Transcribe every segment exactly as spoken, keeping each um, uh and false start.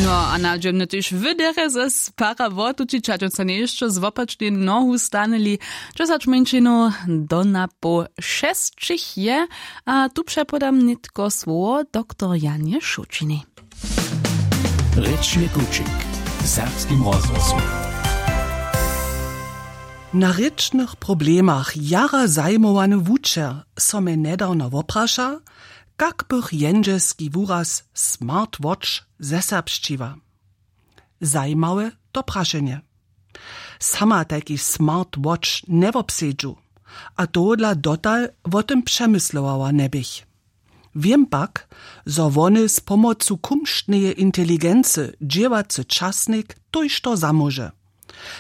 No a na dźemny tež wyderje ze spara wotući čačoca nješćo z wopačnej nohu stanili. Dźesać mjeńšinow do na poł šesćich je. A tu přepodam nětko słowo doktor janje šołćiny. Rěčny kućik w serbskim rozhłosu. Na rěčnych problemach jara zajimowany wučer so mje njedawno wopraša, kak bych jendźelski wuraz smartwatch zeserbšćiła. Zajimawe to prašenje. Sama tajki smartwatch njewobsedźu, a tohodla dotal wo tym přemyslowała njeběch. Wěm pak, zo wone z pomocu kumštneje inteligency dźěłacy časnik tójšto zamóže,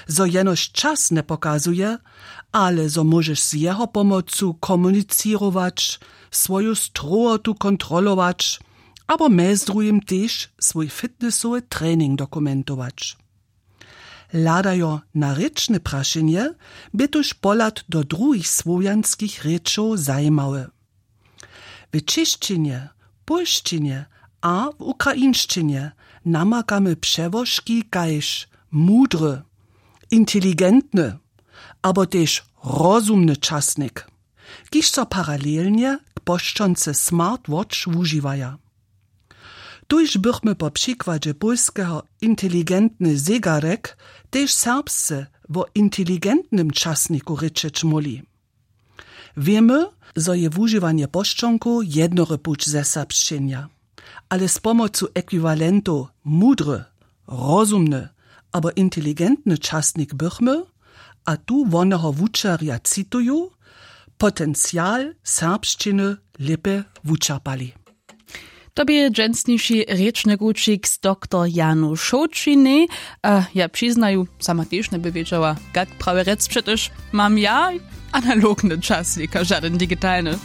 zo jenož čas njepokazuje, ale zo móžeš z jeho pomocu komunicěrować, swoju strowotu kontrolować abo mjez druhim tež swój fitnessowy trening dokumentować. Hladajo na rěčne prašenje bě tuž pohlad do druhich słowjanskich rěčow zajimawy. W čěšćinje, pólšćinje a w ukrainšćinje namakamy přełožki kaž mudry, inteligentny abo tež rozumny časnik, kiž so paralelnje k pošćonce smartwatch wužiwaja. Tuž bychmy po přikładźe pólskeho inteligentny zegarek tež serbsce wo inteligentnym časniku rěčeć móhli. Wěmy, zo je wužiwanje pošćonkow jednory puć zeserbšćenja, ale z pomocu ekwiwalentow mudry, rozumny abo inteligentny časnik bychmy, a tu woneho wučerja cituju, potencial serbšćiny lěpje wučerpali. To bě dźensniši rěčny kućik z doktor janu šołćinej. A ja přiznaju, sama tež njeby wědźała, kak prawje rjec, přetož mam ja analogny časnik a žadyn digitalny.